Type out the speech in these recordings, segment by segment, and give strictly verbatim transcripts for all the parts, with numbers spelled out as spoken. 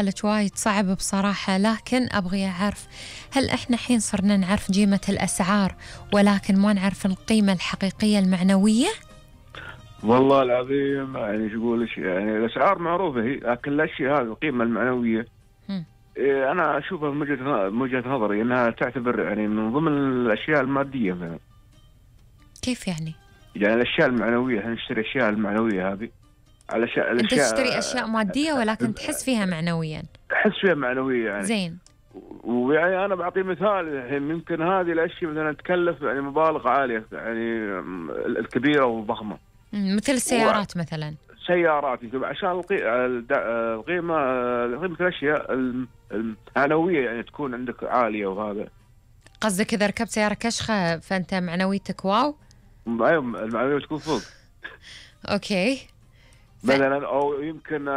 لك وايد صعب بصراحة، لكن أبغي أعرف هل إحنا حين صرنا نعرف قيمة الأسعار ولكن ما نعرف القيمة الحقيقية المعنوية؟ والله العظيم يعني شو أقول، يعني الأسعار معروفة هي، لكن الأشياء هذه القيمة المعنوية هم. إيه أنا أشوفها من وجهة من وجهة نظري أنها تعتبر يعني من ضمن الأشياء المادية مثلا. كيف يعني؟ يعني الأشياء المعنوية، هنشتري الأشياء المعنوية هذه. الأشياء أنت الأشياء تشتري أشياء مادية ولكن تحس فيها معنويا. أحس فيها معنوية يعني. زين. ويعني أنا بعطي مثال، الحين يمكن هذه الأشياء مثلا تكلف يعني مبالغ عالية يعني الكبيرة والضخمة. مثل السيارات و... مثلا. سيارات عشان القي... القيمة قيمة الأشياء المعنوية يعني تكون عندك عالية. وهذا قصدك إذا ركبت سيارة كشخة فأنت معنويتك واو؟ أيوة المعنوية تكون فوق. أوكي. ف... مثلا أو يمكن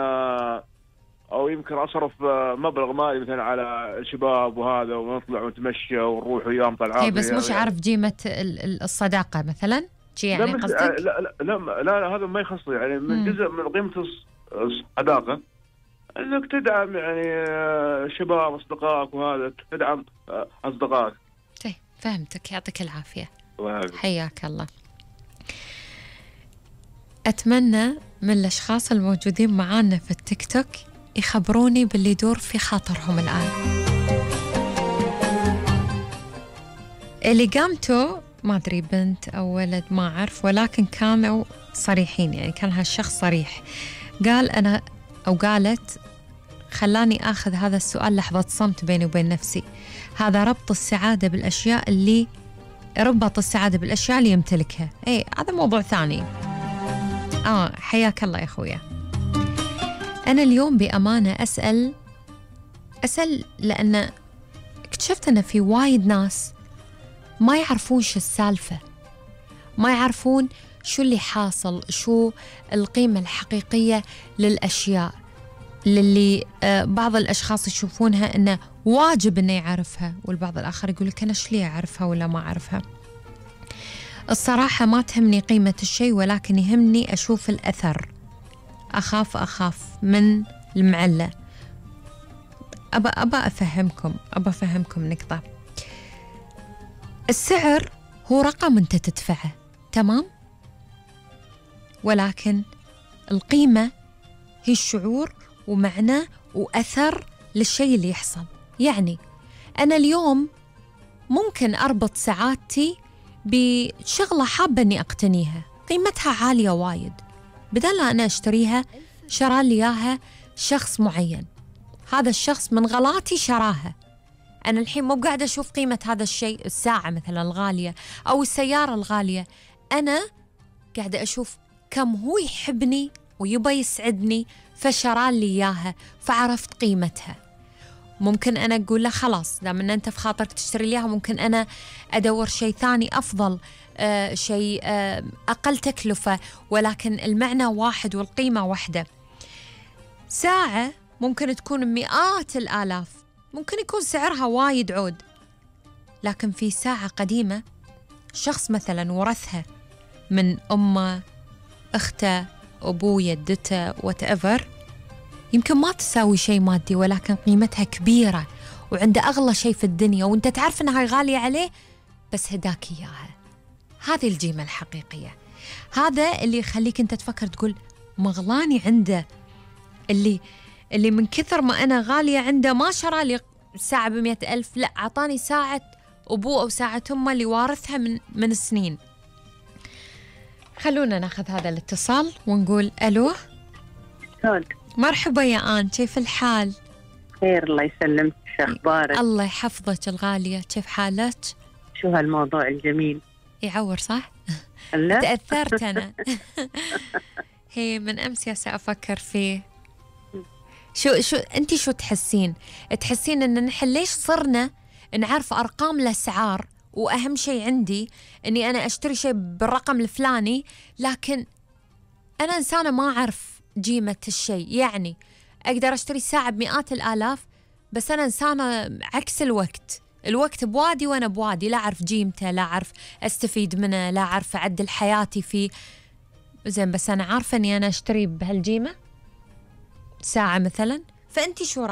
أو يمكن أصرف مبلغ مالي مثلا على الشباب وهذا، ونطلع ونتمشى ونروح وياهم طلعات. هي بس مش يعني عارف قيمة الصداقة مثلا شي يعني قصدك؟ لا لا لا, لا, لا هذا ما يخص يعني من مم. جزء من قيمة الصداقة انك تدعم يعني شباب اصدقائك، وهذا تدعم اصدقائك. طيب فهمتك، يعطيك العافية. وهذا. حياك الله. اتمنى من الاشخاص الموجودين معانا في التيك توك يخبروني باللي يدور في خاطرهم الآن. اللي قامته ما أدري بنت أو ولد ما أعرف، ولكن كانوا صريحين، يعني كان هالشخص صريح، قال أنا أو قالت خلاني أخذ هذا السؤال لحظة صمت بيني وبين نفسي. هذا ربط السعادة بالأشياء اللي ربط السعادة بالأشياء اللي يمتلكها. إيه هذا موضوع ثاني. آه حياك الله يا أخويا. أنا اليوم بأمانة أسأل أسأل لأن اكتشفت أن في وايد ناس ما يعرفون شو السالفة، ما يعرفون شو اللي حاصل، شو القيمة الحقيقية للأشياء للي آه بعض الأشخاص يشوفونها أنه واجب أنه يعرفها، والبعض الآخر يقول لك أنا شو لي أعرفها ولا ما أعرفها. الصراحة ما تهمني قيمة الشيء، ولكن يهمني أشوف الأثر. أخاف أخاف من المعلة. أبا أبا أفهمكم أبا أفهمكم نقطة. السعر هو رقم أنت تدفعه، تمام؟ ولكن القيمة هي الشعور ومعنى وأثر للشيء اللي يحصل. يعني أنا اليوم ممكن أربط سعادتي بشغلة حابة أني أقتنيها قيمتها عالية وايد، بدل أنا أشتريها شرى لي إياها شخص معين، هذا الشخص من غلاتي شراها. أنا الحين مو قاعدة أشوف قيمة هذا الشيء، الساعة مثلا الغالية أو السيارة الغالية، أنا قاعدة أشوف كم هو يحبني ويبى يسعدني فشرى لي إياها، فعرفت قيمتها. ممكن أنا أقول له خلاص دام أن أنت في خاطرك تشتري لي إياها، ممكن أنا أدور شيء ثاني أفضل، آه شيء آه أقل تكلفة، ولكن المعنى واحد والقيمة واحدة. ساعة ممكن تكون مئات الآلاف، ممكن يكون سعرها وايد عود، لكن في ساعة قديمة شخص مثلا ورثها من أمه، أخته، أبوه، يدته، whatever، يمكن ما تساوي شيء مادي، ولكن قيمتها كبيرة وعنده أغلى شيء في الدنيا، وانت تعرف أنها غالية عليه بس هداك إياها. هذه القيمة الحقيقية. هذا اللي يخليك انت تفكر تقول مغلاني عنده، اللي اللي من كثر ما أنا غالية عنده ما شرى لي ساعة بمئة ألف، لا عطاني ساعة أبوه أو ساعة أمه اللي وارثها من من سنين. خلونا ناخذ هذا الاتصال ونقول ألو. شلونك؟ مرحبا يا آن، كيف الحال؟ خير الله يسلمك، شو أخبارك؟ الله يحفظك الغالية، كيف حالك؟ شو هالموضوع الجميل؟ يعور صح؟ لا تأثرت أنا. هي من أمس يا سأفكر فيه. شو شو أنتي شو تحسين؟ تحسين إن نحن ليش صرنا نعرف أرقام الأسعار، وأهم شيء عندي إني أنا أشتري شيء بالرقم الفلاني، لكن أنا إنسانة ما أعرف قيمة الشيء. يعني أقدر أشتري ساعة بمئات الآلاف، بس أنا إنسانة عكس الوقت، الوقت بوادي وأنا بوادي، لا أعرف قيمته، لا أعرف أستفيد منه، لا أعرف أعدل حياتي فيه. زين بس أنا عارفة أني أنا أشتري بهالقيمة ساعة مثلا فأنت شو رأيك؟